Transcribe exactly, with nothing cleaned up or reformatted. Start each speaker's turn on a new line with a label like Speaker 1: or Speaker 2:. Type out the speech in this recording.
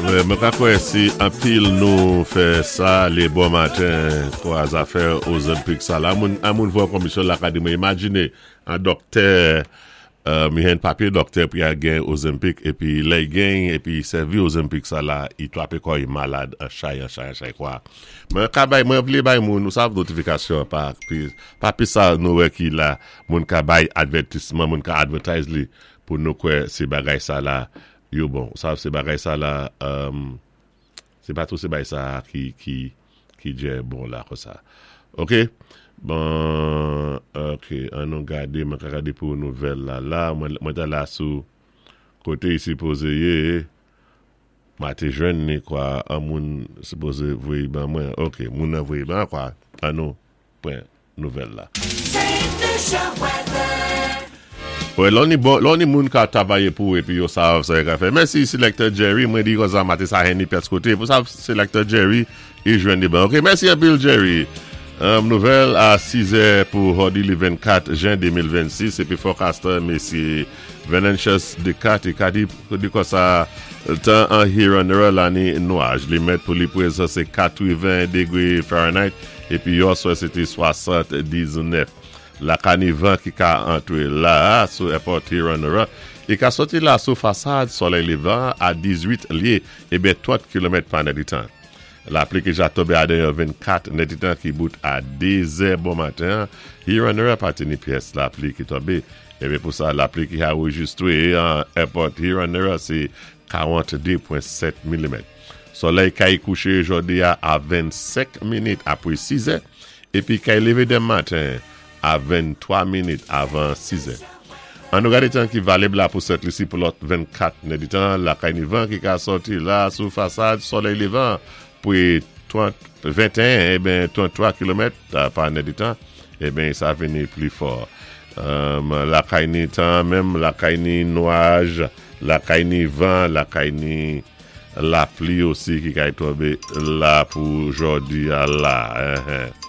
Speaker 1: Wè, mwen ka kwè si anpil nou fè sa lé bon maten kwa zafè Ozempic sa la. Moun, an moun vò komisyon l'akademi. Imajine an doktè, euh, mi hen papye doktè pou ya gen Ozempic epi lè y gen epi sèvi Ozempic sa la, i twapé kwa i malad an chay, an chay, an chay kwa. Mwen ka bay, mwen vlé bay moun, nou sav notifikasyon pa, pi, pa pi sa nou wè ki la, moun ka bay advètisman, moun ka advertise li pou nou kwè sé bagay sa la, yo bon. Sav sé bagay sa la, um, sé pa tou sé bagay sa ki, ki, ki djè bon la kon sa. Ok? Bon, ok, an nou gade, mwen ka gade pou nouvèl la la, mwen, mwen ta la sou koté i sipozé yé, mwen té jwenn ni kwa, an moun sipozé voyé ban mwen, ok, moun nan voyé ban kwa, an nou pran nouvèl la.
Speaker 2: Saint Lucia weather.
Speaker 1: Wè, lò ni bon, lò ni moun ka travayé pou epi yo sav sa yo ka fè. Mèsi Selector Jerry, mwen di kon sa maté sa hen ni pyès koté. Pou sa Selector Jerry, i jwenn di ban. Ok, mèsi anpil Jerry. Um, nouvèl a sis è pou jòdi li vennkat jen de mil vennsis epi forecaster Mesye Venantius Ducati ka di, di kon sa tan an Huron la ni nwaj. Li mèt pou li prezan sé katreven degwé Fahrenheit epi yè swa sé té swasanndiznèf. La ka ni van ki ka antré la sou airport Huron, i ka soti la sou fasad solèy lévan a dizuit lyé ébyen trant kilomèt pa nèditan. Lapli ki ja tonbé a dèyè vennkat nèditan ki bout a dé zè bon maten, Huron pa té ni pyès lapli ki tonbé. Ébyen pou sa lapli ki anrejistwé an airport Huron sé karantdé pwen sèt milimèt. Solèy kay kouché jòdi a a vennsenk minit apwé sis è épi kay lévé denmen maten a venntwa minit avan sis è. An nou gade tan ki valib la pou Sent Lisi pou lòt vennkat nèditan, la kay ni van ki ka soti la sou fasad solèy lévan pou trant, venteyen, ébyen tranntwa kilomèt pa nèditan, ébyen sa vini pli fò. Um, la kay ni tan menm, la kay ni nwaj, la kay ni van, la kay ni lapli osi ki kay tonbé la pou jòdi a la. Hein, hein.